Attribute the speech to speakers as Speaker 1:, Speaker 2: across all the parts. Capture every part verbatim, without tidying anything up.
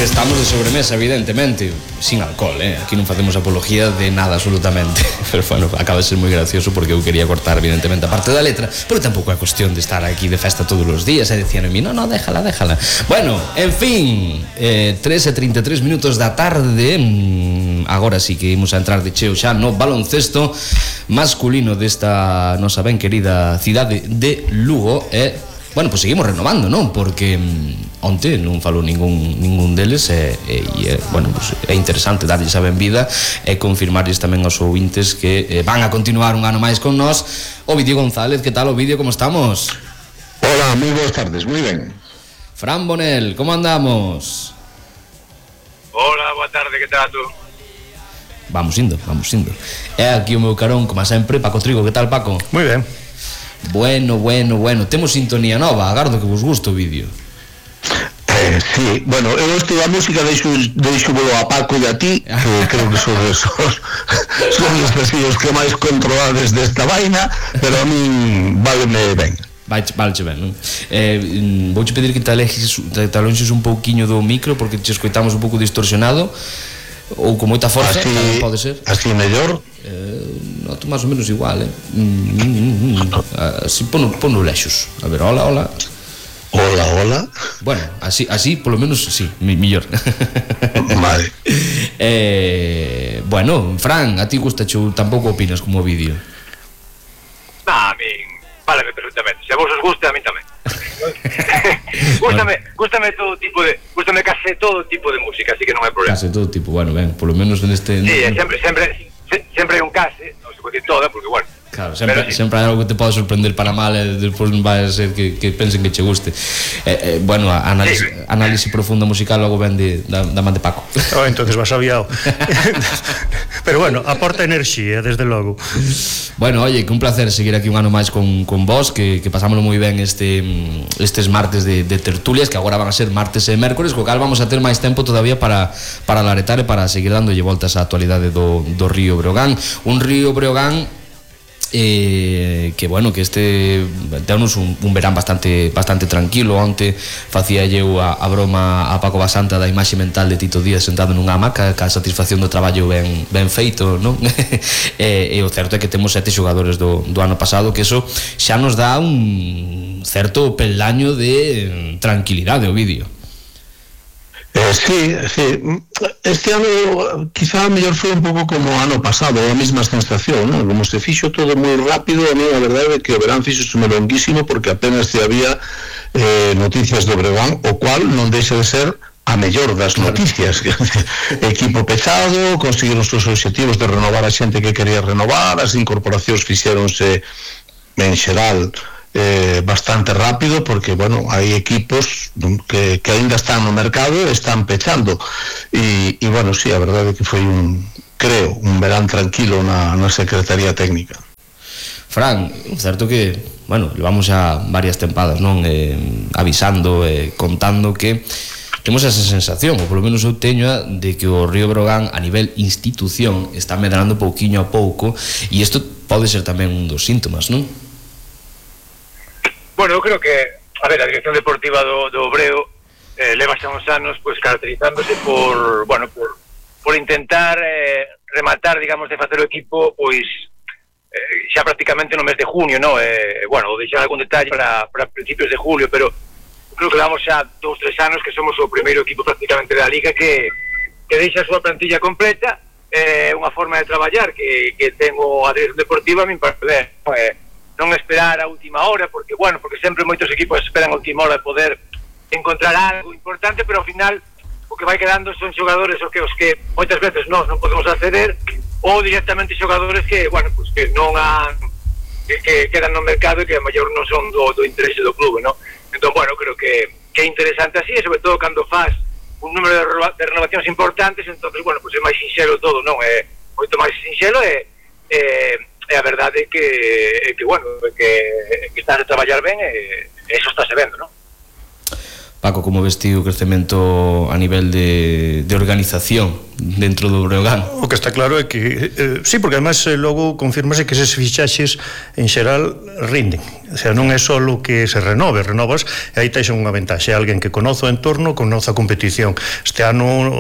Speaker 1: que estamos de sobremesa, evidentemente, sin alcohol, eh? Aquí non facemos apología de nada absolutamente. Pero bueno, acaba de ser moi gracioso porque eu quería cortar evidentemente a parte da letra, pero tampouco é cuestión de estar aquí de festa todos os días e decían a mí, no, no, déjala, déjala. Bueno, en fin, eh, tres e trinta e tres minutos da tarde. mm, Agora sí que imos a entrar de cheo xa no baloncesto masculino desta nosa ben querida cidade de Lugo. E, bueno, pois seguimos renovando, non? Porque mm, onte non falou ningún, ningún deles e, e, e bueno, pues, é interesante darlles a benvida e confirmarlles tamén aos ouvintes que eh, van a continuar un ano máis con nós. Ovidio González, que tal, Ovidio, como estamos?
Speaker 2: Hola, moi boas tardes, moi ben.
Speaker 1: Fran Bonel, como andamos?
Speaker 3: Hola, boa tarde, que tal tú?
Speaker 1: Vamos indo, vamos indo. É aquí o meu carón, como sempre, Paco Trigo, que tal, Paco?
Speaker 4: Moi ben.
Speaker 1: Bueno, bueno, bueno, temos sintonía nova, agardo que vos guste o vídeo.
Speaker 2: Eh, sí, bueno, eu estou a música deixo, deixo volo a Paco e a ti, que creo que son os, son os vecinos que máis controlades desta vaina, pero a min váleme ben.
Speaker 1: Vai, vale, ben, non? Eh, vouche pedir que te alejes, te alonxes un pouquiño do micro, porque te escoitamos un pouco distorsionado, ou con moita forza,
Speaker 2: así,
Speaker 1: tamén pode ser.
Speaker 2: Así mellor?
Speaker 1: Eh, noto máis ou menos igual, eh? Mm, mm, mm, así, pono, pono lexos. A ver, hola, hola.
Speaker 2: Hola, hola.
Speaker 1: Bueno, así, así, polo menos, sí, mi, millor.
Speaker 2: Vale.
Speaker 1: eh, bueno, Fran, a ti gusta chou, tampouco opinas como o vídeo?
Speaker 3: Nah, a min, váleme perfectamente. Se a vos os gusta, a min tamén. Gústame, gústame todo tipo de, gústame case todo tipo de música, así que non hai problema.
Speaker 1: Case todo tipo, bueno, ben, polo menos neste...
Speaker 3: Sí, sempre, sempre, sempre hai un case, non se pode decir toda, porque, bueno,
Speaker 1: claro, sempre,
Speaker 3: sí.
Speaker 1: sempre hai algo que te pode sorprender para mal e despois non vai a ser que, que pensen que che guste. Eh, eh, bueno, a análise,
Speaker 3: sí.
Speaker 1: análise profunda musical logo ven de, da, da man de Paco.
Speaker 4: Oh, entonces vas aviado. Pero bueno, aporta enerxía, desde logo.
Speaker 1: Bueno, oye, que un placer seguir aquí un ano máis con, con vos, que, que pasámoslo moi ben este, estes martes de, de tertulias, que agora van a ser martes e mércores, co cal vamos a ter máis tempo todavía para, para laretar e para seguir dándolle voltas á actualidade do, do Río Breogán. Un Río Breogán Eh, que bueno, que este deunos un, un verán bastante bastante tranquilo. Onte facía eu a, a broma a Paco Basanta da imaxe mental de Tito Díaz sentado nunha hamaca, ca satisfacción do traballo ben, ben feito, non? e, e o certo é que temos sete xogadores do, do ano pasado, que eso xa nos dá un certo peldaño de tranquilidade o vídeo.
Speaker 2: Eh, sí, sí. Este ano quizá mellor foi un pouco como o ano pasado, a mesma sensación, ¿no? Como se fixo todo moi rápido, a mí a verdade é que o verán fixo sume longuísimo, porque apenas se había eh, noticias do Breogán, o cual non deixa de ser a mellor das noticias. Equipo pechado, conseguiron os seus obxectivos de renovar a xente que quería renovar, as incorporacións fixéronse en xeral Eh, bastante rápido, porque bueno, hai equipos que, que ainda están no mercado e están pechando e, e bueno, sí, a verdade é que foi un, creo, un verán tranquilo na, na Secretaría Técnica.
Speaker 1: Fran, certo que, bueno, levamos xa varias tempadas, non? Eh, avisando e eh, contando que temos esa sensación, ou polo menos eu teño a, de que o Río Breogán a nivel institución está medrando pouquiño a pouco, e isto pode ser tamén un dos síntomas, non?
Speaker 3: Bueno, eu creo que, a ver, a dirección deportiva do, do Obreo eh, leva xa uns anos pues, caracterizándose por, bueno, por, por intentar eh, rematar, digamos, de facer o equipo pois eh, xa prácticamente no mes de junio, no? Eh, bueno, deixar algún detalle para, para principios de julio, pero creo que levamos xa dous, tres anos que somos o primeiro equipo prácticamente da Liga que, que deixa a súa plantilla completa, eh, unha forma de traballar que, que tengo a dirección deportiva a min para ver, eh, non esperar a última hora, porque, bueno, porque sempre moitos equipos esperan a última hora de poder encontrar algo importante, pero ao final o que vai quedando son xogadores os que, os que moitas veces nós non podemos acceder, ou directamente xogadores que, bueno, pues que non han que, que quedan no mercado e que a maior non son do, do interese do clube, non? Entón, bueno, creo que, que é interesante así, e sobre todo cando faz un número de, reno, de renovacións importantes, entonces, bueno, pues é máis sinxelo todo, non? É moito máis sinxelo e eh, e a verdade é que, é que bueno, é que, é que estás a traballar ben e eso está se vendo, non?
Speaker 1: Paco, como ves ti o crecemento a nivel de, de organización dentro do Breogán.
Speaker 4: O que está claro é que eh, sí, porque además eh, logo confirmase que eses fichaxes en xeral rinden, o sea, non é só que se renove, renovas e aí tais unha ventaxe, alguén que conoce o entorno, conoce a competición. Este ano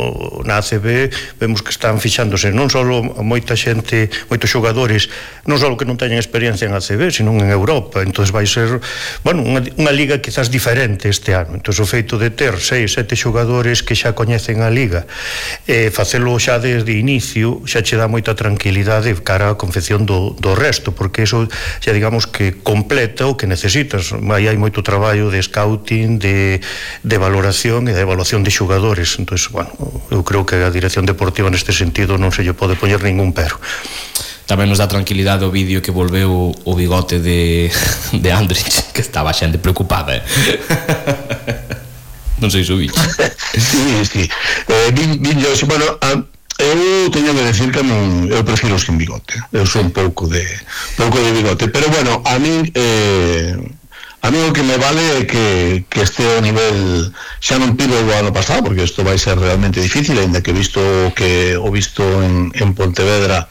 Speaker 4: na A C B vemos que están fixándose non só moita xente, moitos xogadores, non só que non teñen experiencia en A C B, sino en Europa. Entonces vai ser, bueno, unha, unha liga quizás diferente este ano. Entón o feito de ter seis, sete xogadores que xa coñecen a liga, e facelo xa desde inicio, xa che dá moita tranquilidade cara á confección do, do resto, porque eso xa digamos que completa o que necesitas. Aí hai moito traballo de scouting, de, de valoración e de evaluación de xogadores. Entón, bueno, eu creo que a dirección deportiva neste sentido non se lle pode poñer ningún pero.
Speaker 1: Tamén nos dá tranquilidade o vídeo que volveu o bigote de, de Andrich, que estaba xente preocupada, eh? Non sei se o bicho.
Speaker 2: Sí, sí. Eh, vin, vin yo, bueno, a, eu teño que decir que non, eu prefiro sin bigote. Eu sou un pouco de pouco de bigote, pero bueno, a mí eh, a mí o que me vale é que, que este o nivel xa non pido o ano pasado, porque isto vai ser realmente difícil, ainda que visto que o visto en, en Pontevedra,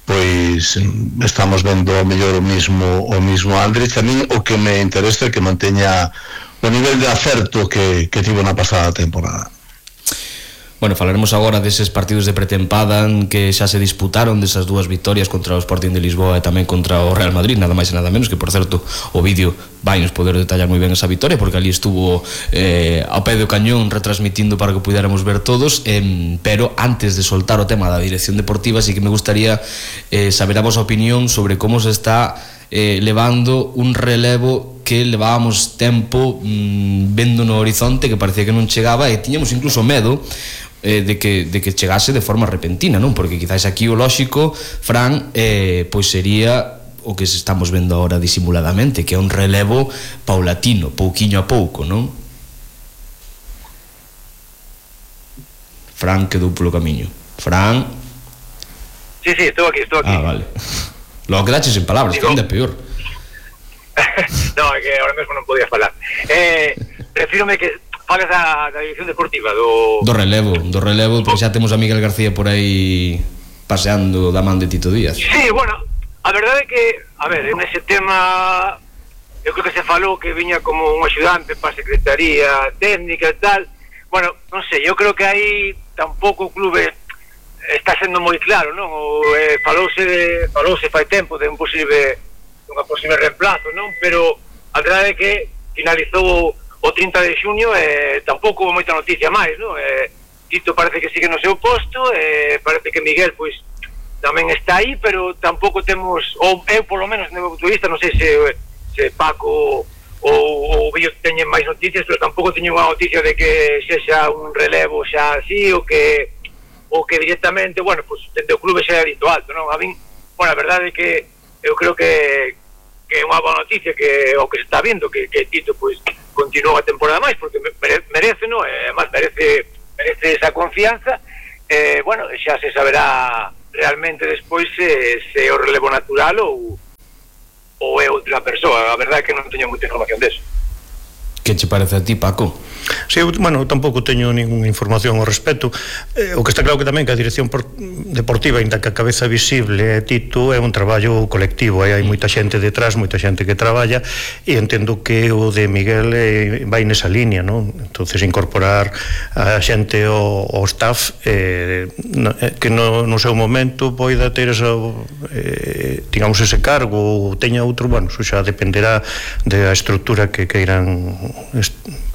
Speaker 2: pois estamos vendo ao mellor o mismo o mismo Andrich. A mí o que me interesa é que manteña o nivel de acerto que, que tivo na pasada temporada.
Speaker 1: Bueno, falaremos agora deses partidos de pretempada que xa se disputaron, desas dúas victorias contra o Sporting de Lisboa e tamén contra o Real Madrid, nada máis e nada menos, que por certo o vídeo vai nos poder detallar moi ben esa victoria, porque ali estuvo eh, ao pé do cañón retransmitindo para que puidéramos ver todos, eh, pero antes de soltar o tema da dirección deportiva, sí que me gustaría eh, saber a vosa opinión sobre como se está eh, levando un relevo que levábamos tempo mmm, vendo no horizonte, que parecía que non chegaba, e tiñamos incluso medo eh, de, que, de que chegase de forma repentina, non? Porque quizás aquí o lóxico, Fran, eh, pois sería o que estamos vendo agora disimuladamente, que é un relevo paulatino, pouquiño a pouco, non? Fran quedou polo camiño. Fran...
Speaker 3: Sí, sí, estou aquí, estou aquí.
Speaker 1: Ah, vale. Logo quedaches en palabras, que ainda é peor.
Speaker 3: No, é que ahora mesmo non podía falar. Eh, refírome que fales da, da dirección deportiva do...
Speaker 1: Do relevo, do relevo, porque xa temos a Miguel García por aí paseando da man de Tito Díaz.
Speaker 3: Sí, bueno, a verdade é que, a ver, en ese tema eu creo que se falou que viña como un axudante para a Secretaría Técnica e tal. Bueno, non sei, eu creo que aí tampouco o clube está sendo moi claro, non? O, eh, falouse, de, falouse fai tempo de un posible... unha posible reemplazo, non? Pero a verdade é que finalizou o trinta de xuño e eh, tampouco houve moita noticia máis, non? Eh, Tito parece que sigue no seu posto, eh, parece que Miguel, pois, tamén está aí, pero tampouco temos, ou eu polo menos no meu punto de vista, non sei se, se Paco ou o Billo teñen máis noticias, pero tampouco teñen unha noticia de que sexa un relevo xa así, ou que ou que directamente, bueno, pois, dende o clube xa é dito alto, non? A min, bueno, a verdade é que eu creo que que é unha boa noticia que o que se está vindo que, que Tito pois continúa a temporada máis, porque merece, non? Eh, máis merece merece esa confianza. Eh, bueno, xa se saberá realmente despois se, se é o relevo natural ou ou é outra persoa. A verdade é que non teño moita información deso.
Speaker 1: Que che parece a ti, Paco?
Speaker 4: Sí, eu, bueno, tampouco teño ninguna información ao respecto. Eh, o que está claro que tamén que a dirección por, deportiva, ainda que a cabeza visible é Tito, é un traballo colectivo, aí hai moita xente detrás, moita xente que traballa, e entendo que o de Miguel eh, vai nesa línea, non? Entonces incorporar a xente ao, ao staff eh, no, eh, que no, no seu momento poida ter esa, eh, digamos, ese cargo ou teña outro, bueno, eso xa dependerá da estructura que queiran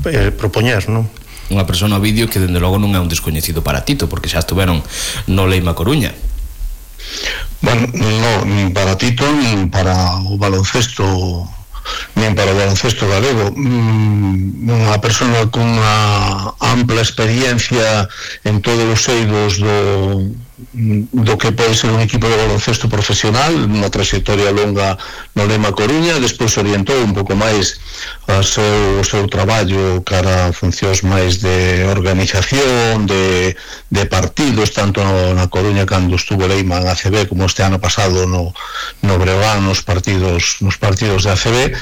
Speaker 4: eh, propoñer, non?
Speaker 1: Unha persona ao vídeo que dende logo non é un descoñecido para Tito, porque xa estuveron no Leima Coruña.
Speaker 2: Bueno, no, nin para Tito, nin para o baloncesto, nin para o baloncesto galego. Unha persona con unha ampla experiencia en todos os eidos do do que pode ser un equipo de baloncesto profesional, unha trayectoria longa no Lema Coruña, despois orientou un pouco máis o seu, o seu traballo cara a funcións máis de organización, de, de partidos, tanto no, na Coruña cando estuvo Leima en A C B, como este ano pasado no, no Breogán, nos partidos, nos partidos de A C B.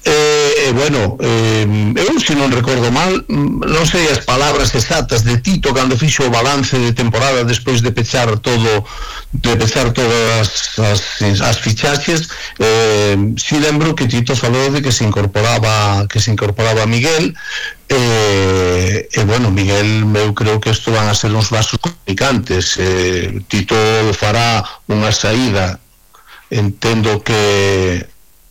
Speaker 2: Eh, bueno, eh, eu se non recordo mal, non sei as palabras exactas de Tito cando fixo o balance de temporada despois de pechar todo, de pechar todas as, as fichaxes. Eh, si lembro que Tito falou de que se incorporaba que se incorporaba Miguel. E, e bueno, Miguel, eu creo que isto van a ser uns vasos comunicantes. eh, Tito fará unha saída, entendo que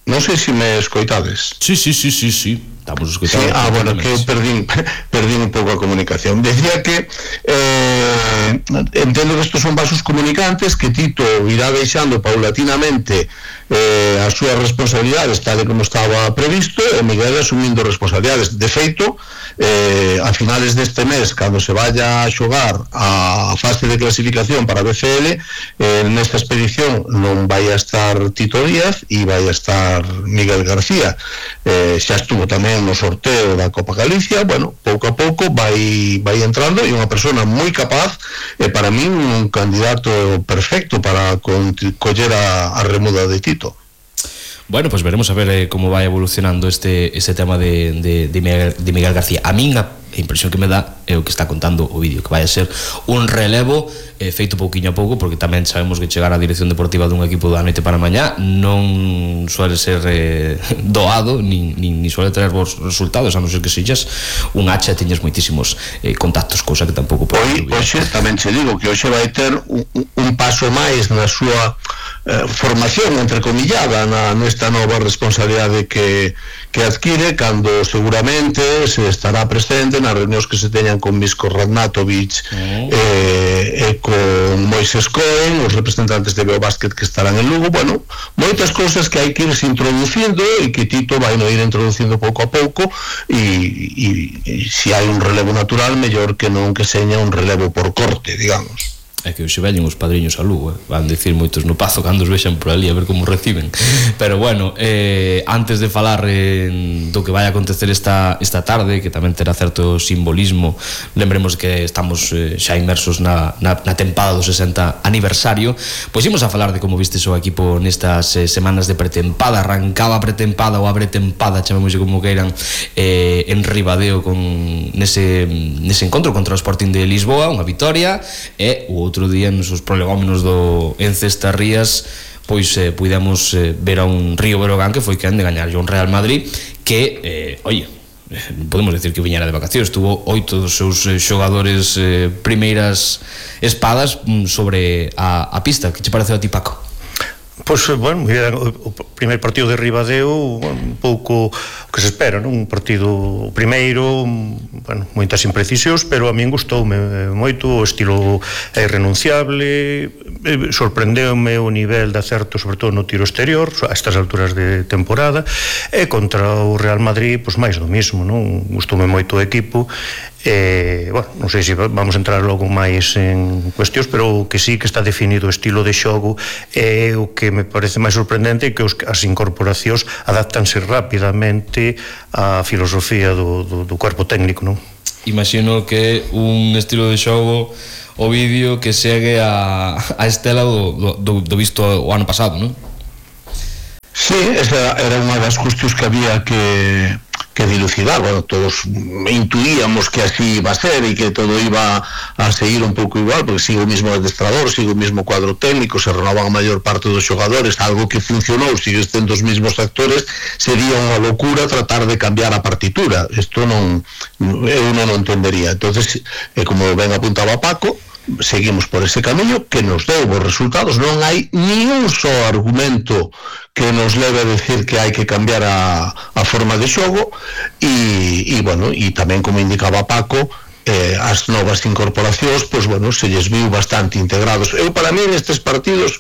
Speaker 2: non sei se me escoitades.
Speaker 1: Sí, sí, sí, sí, sí. Estamos escoitando.
Speaker 2: Sí, ah, bueno, que eu perdín, perdín un pouco a comunicación. Decía que eh, entendo que estos son vasos comunicantes, que Tito irá deixando paulatinamente eh, as súas responsabilidades tal e como estaba previsto, e Miguel asumindo responsabilidades. De feito, eh, a finales deste mes, cando se vaya a xogar a fase de clasificación para B C L, eh, nesta expedición non vai a estar Tito Díaz e vai a estar Miguel García. Eh, xa estuvo tamén no sorteo da Copa Galicia. Bueno, pouco a pouco vai vai entrando, e unha persona moi capaz, e para mí un candidato perfecto para coller a, a remuda de Tito.
Speaker 1: Bueno, pues veremos a ver eh, como vai evolucionando este, este tema de, de, de, Miguel, de Miguel García. A min a impresión que me dá é o que está contando o vídeo, que vai a ser un relevo eh, feito pouquiño a pouco, porque tamén sabemos que chegar á dirección deportiva dun equipo da noite para mañá non suele ser eh, doado, nin, nin, nin suele tener bons resultados, a non ser que sexas un hacha e teñes moitísimos eh, contactos, cousa que tampouco pode.
Speaker 2: Hoxe tamén che digo que hoxe vai ter un, un paso máis na súa eh, formación, entrecomillada, na nesta nova responsabilidade que, que adquire, cando seguramente se estará presente nas reunións que se teñan con Misko Radnatovic oh. eh, e con Moises Cohen, os representantes de Beobásquet que estarán en Lugo. Bueno, moitas cousas que hai que irse introducindo e que Tito vai no ir introducindo pouco a pouco, e, e, e se hai un relevo natural, mellor que non que seña un relevo por corte, digamos.
Speaker 1: É que hoxe veñen os padriños a Lugo, eh? Van dicir moitos no Pazo cando os vexan por ali a ver como reciben. Pero bueno, eh, antes de falar eh, do que vai acontecer esta, esta tarde, que tamén terá certo simbolismo, lembremos que estamos eh, xa inmersos na, na, na tempada do sesenta aniversario. Pois imos a falar de como viste o equipo nestas eh, semanas de pretempada. Arrancaba a pretempada ou a pretempada, chamémoslle como queiran, eh, en Ribadeo con nese, nese encontro contra o Sporting de Lisboa, unha vitoria, e o outro día nos os prolegómenos do Encestarrías pois eh, puidemos eh, ver a un Río Breogán que foi quen de gañar un Real Madrid que, eh, oye, non podemos decir que viñera de vacacións, tuvo oito dos seus eh, xogadores eh, primeiras espadas sobre a, a pista. Que che pareceu a ti, Paco?
Speaker 4: Pois, bueno, o primeiro partido de Ribadeo, un pouco o que se espera, non? Un partido primeiro, bueno, moitas imprecisións, pero a min gustoume moito, o estilo é irrenunciable, sorprendeume o nivel de acerto, sobre todo no tiro exterior, a estas alturas de temporada, e contra o Real Madrid, pois máis do mismo, non? Gustoume moito o equipo. Eh, bueno, non sei se vamos entrar logo máis en cuestións, pero o que sí que está definido o estilo de xogo é o que me parece máis sorprendente, que os, as incorporacións adáptanse rapidamente á filosofía do, do, do cuerpo técnico, non?
Speaker 1: Imagino que un estilo de xogo, o vídeo que segue a, a estela do, do, do visto o ano pasado, non?
Speaker 2: Sí, esa era unha das cuestións que había que que dilucidar. Bueno, todos intuíamos que así iba a ser e que todo iba a seguir un pouco igual, porque sigue o mismo adestrador, sigue o mismo cuadro técnico, se renovan a maior parte dos xogadores, algo que funcionou, sigue estendo os mismos actores. Sería unha locura tratar de cambiar a partitura. Isto non, eu non o entendería. Entonces, eh, como ben apuntaba Paco, seguimos por ese camiño que nos deu bons resultados. Non hai ni un só argumento que nos leve a decir que hai que cambiar a, a forma de xogo, e, e bueno, e tamén como indicaba Paco, eh, as novas incorporacións, pois bueno, se lles viu bastante integrados. Eu, para mí, nestes partidos,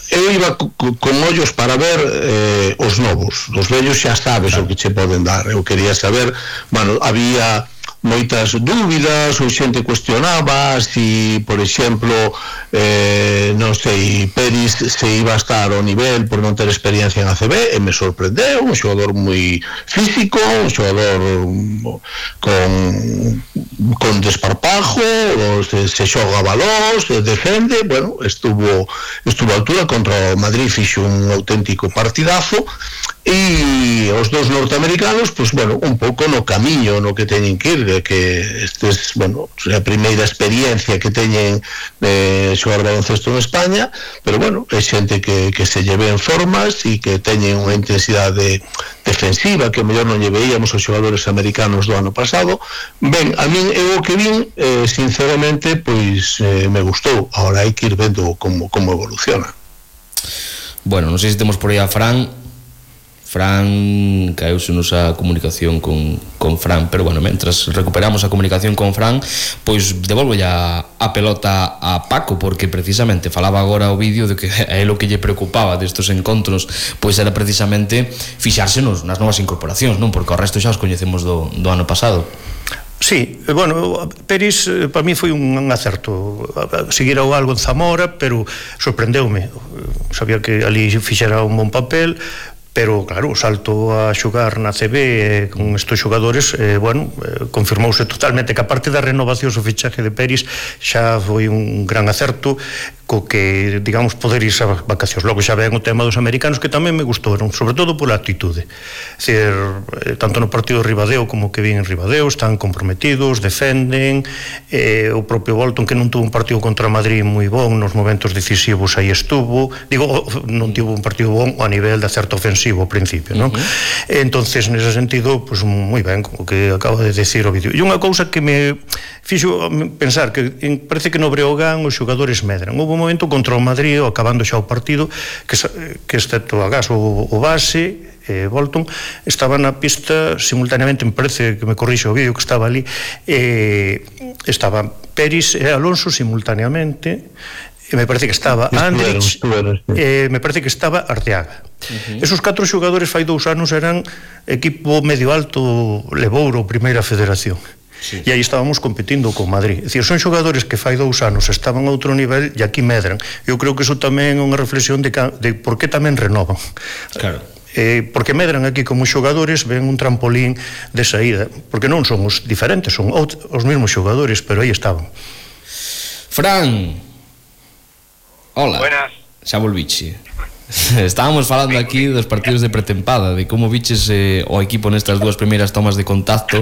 Speaker 2: eu iba co, co, con ollos para ver eh, os novos. Os vellos xa sabes o que che poden dar. Eu quería saber, bueno, había moitas dúbidas, ou xente cuestionaba si, por exemplo, eh, non sei, Peris se iba a estar ao nivel por non ter experiencia en A C B, e me sorprendeu. Un xogador moi físico, un xogador con con desparpajo, se, se xoga balós, se defende. Bueno, estuvo estuvo a altura contra o Madrid, fixo un auténtico partidazo. e os dous norteamericanos, pois, bueno, un pouco no camiño no que teñen que ir, que estes, bueno, a primeira experiencia que teñen de xogar baloncesto en España, pero, bueno, é xente que, que se lleve en formas e que teñen unha intensidade defensiva que mellor non lle veíamos aos xogadores americanos do ano pasado. Ben, a min é o que vin, eh, sinceramente, pois eh, me gustou. Ahora hai que ir vendo como, como evoluciona.
Speaker 1: Bueno, non sei se temos por aí a Fran. Fran, caeuse nosa comunicación con, con Fran, pero bueno, mentras recuperamos a comunicación con Fran, pois devolvo ya a pelota a Paco, porque precisamente falaba agora o vídeo de que a él o que lle preocupaba destes encontros pois era precisamente fixársenos nas novas incorporacións, non? Porque o resto xa os coñecemos do, do ano pasado.
Speaker 4: Sí, bueno, Peris para mí foi un acerto. Seguira o algo en Zamora, pero sorprendeume. Sabía que ali fixera un bon papel, pero claro, o salto a xogar na C B eh, con estes xogadores, eh, bueno, eh, confirmouse totalmente que a parte da renovación o fichaje de Peris xa foi un gran acerto, co que, digamos, poder ir a vacacións. Logo xa ven o tema dos americanos, que tamén me gustoron, sobre todo pola actitude. É dicir, eh, tanto no partido de Ribadeo como que vin en Ribadeo, están comprometidos, defenden, eh, o propio Bolton, que non tuvo un partido contra Madrid moi bon, nos momentos decisivos aí estuvo, digo, non tivo un partido bon a nivel de acerto ofensivo ao principio, non? Uh-huh. Entonces, nese sentido, pues moi ben, o que acaba de decir o vídeo. E unha cousa que me fixo pensar que parece que no Breogán os xogadores medran. Houve un momento contra o Madrid, acabando xa o partido, que, que excepto agás o, o base, eh, Bolton, estaba na pista simultaneamente, me parece que me corrixe o vídeo que estaba ali, eh, estaban Peris e Alonso simultaneamente, e me parece que estaba Andrich, eh, me parece que estaba Arteaga. Uh-huh. Esos catro xogadores fai dous anos eran equipo medio alto Levouro, primeira federación. Sí. E aí estábamos competindo con Madrid. É dicir, son xogadores que fai dous anos estaban a outro nivel e aquí medran. Eu creo que iso tamén é unha reflexión de, de por que tamén renovan.
Speaker 1: Claro.
Speaker 4: Eh, porque medran aquí como xogadores, ven un trampolín de saída, porque non son os diferentes, son os mesmos xogadores, pero aí estaban.
Speaker 1: Fran, hola.
Speaker 3: Buenas.
Speaker 1: Xa volviche. Estábamos falando aquí dos partidos de pretempada, de como viches eh, o equipo nestas dúas primeiras tomas de contacto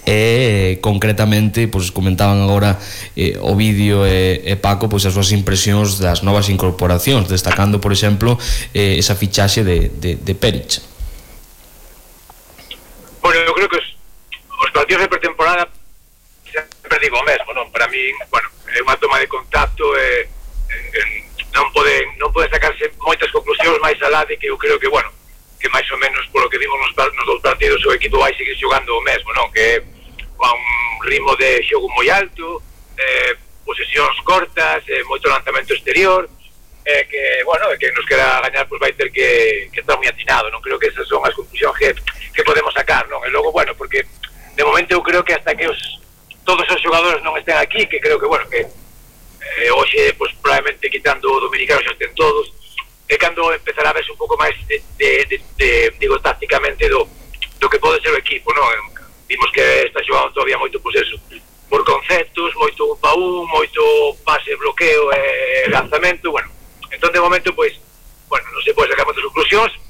Speaker 1: e eh, concretamente, pois comentaban agora eh, o vídeo e eh, Paco, pois as súas impresións das novas incorporacións, destacando, por exemplo, eh, esa fichaxe de, de, de Peric.
Speaker 3: Bueno, eu creo que os, os partidos de pretemporada sempre digo o mesmo, non? Para mí, bueno, é unha toma de contacto e eh, non poden non poden sacarse moitas conclusións máis alá de que eu creo que, bueno, que máis ou menos polo que vimos nos, nos dous partidos o equipo vai seguir xogando o mesmo, non? Que a un ritmo de xogo moi alto, eh, posesións cortas, eh, moito lanzamento exterior, eh, que, bueno, que nos quera gañar, pois vai ter que, que estar moi atinado, non? Creo que esas son as conclusións que, que podemos sacar, non? E logo, bueno, porque de momento eu creo que hasta que os todos os xogadores non estén aquí, que creo que, bueno, que Eh, hoxe, pues, probablemente quitando o dominicano xa estén todos, é cando empezará a verse un pouco máis de, de, de, de, digo, tácticamente do, do que pode ser o equipo, non? Vimos que está xogando todavía moito, pues eso, por conceptos, moito un pa un, moito pase, bloqueo e lanzamento, bueno, entón de momento, pois, bueno, non se pode sacar moitas conclusións,